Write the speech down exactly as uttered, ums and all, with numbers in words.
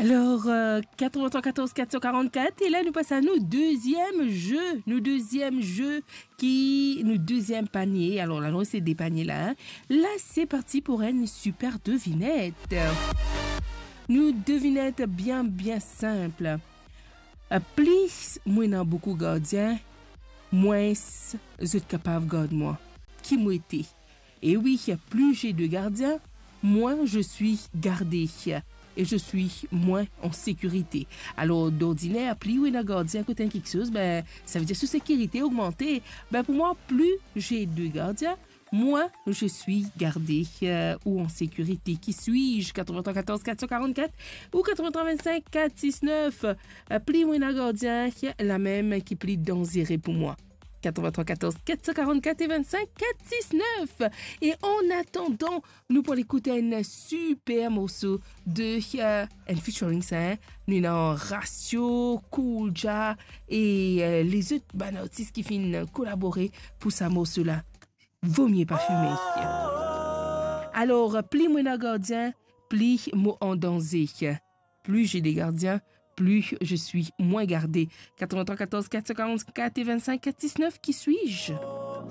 Alors, euh, quatre-vingt-trois quatorze quatre cent quarante-quatre, et là, nous passons à nos deuxième jeu. Nos deuxième jeu, qui, nos deuxième panier. Alors, là, non, c'est des paniers là, hein. Là, c'est parti pour une super devinette. Nos devinette bien, bien simple. Euh, plis mo ena boukou gardien, mwins zot kapav gard mwa. Ki mo ete? E wi, plus j'ai de gardiens, moins je suis gardé. Et je suis moins en sécurité. Alors, d'ordinaire, plis ou ena gardien kot enn kiksoz, ben, sa vedir so sekirite ogmante. Ben, pour moi, plus j'ai de gardiens, moins je suis gardé, euh, ou en sécurité. Qui suis-je? Quatre-vingt-trois quatorze quatre cent quarante-quatre ou quatre-vingt-trois vingt-cinq quatre six neuf. Euh, plis mo ena gardien, lamem ki pli danzere pour moi. Quatre-vingt-trois quatorze quatre cent quarante-quatre et vingt-cinq quatre six neuf. Et en attendant, nou pou al ekout enn super morso de, euh, enn featuring sa, hein. Nou ena Ratio, Cool Jah et, euh, lezot bann artis ki finn kolabore pour sa morso la. Vaut mieux pas fumer. Alors, plis mo ena gardien, plis mo an danze. Plus j'ai des gardiens, plus je suis moins gardé. Quatre-vingt-trois quatorze quatre cent quarante-quatre et vingt-cinq quatre six neuf, qui suis-je?